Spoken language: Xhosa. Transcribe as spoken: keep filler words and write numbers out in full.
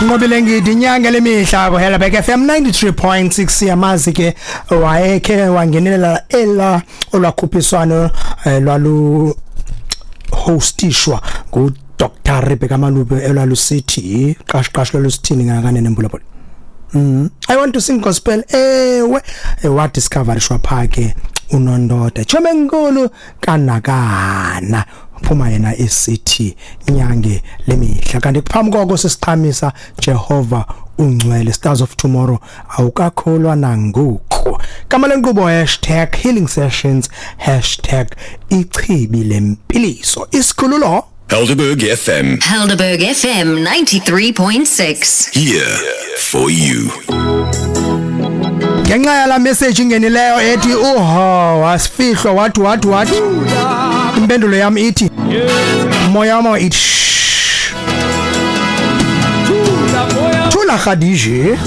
Nqobile Ngidi, inyanga lemihla ku Helderberg F M ninety-three point six. Siyamazi ke, wayekhe wangenelela ela olwakhuphiswano eh, lwalu hostishwa ngu Doctor Rebecca Malube, elwalusithi qash qash, lwalusithini ngakanene mbulabula? Mm. I Want to Sing Gospel. Ewe, wa discoverishwa pha ke unondoda chome enkulu kanakana, phuma yena esithi nyange lemihla. Kanti kuphambi koko sisiqhamisa Jehova Ungcwele, Stars of Tomorrow, awukakholwa nangoku. Kama lenkqubo hashtag healing sessions, hashtag ichibi lempiliso, isikhululo Helderberg F M. Helderberg F M ninety-three point six. Here for you. Ngenxa yala message ingenileyo ethi uho wasifihlwa, wathi wathi wathi impendulo yam ithi moya wam ithi shh. Thula, Khadije.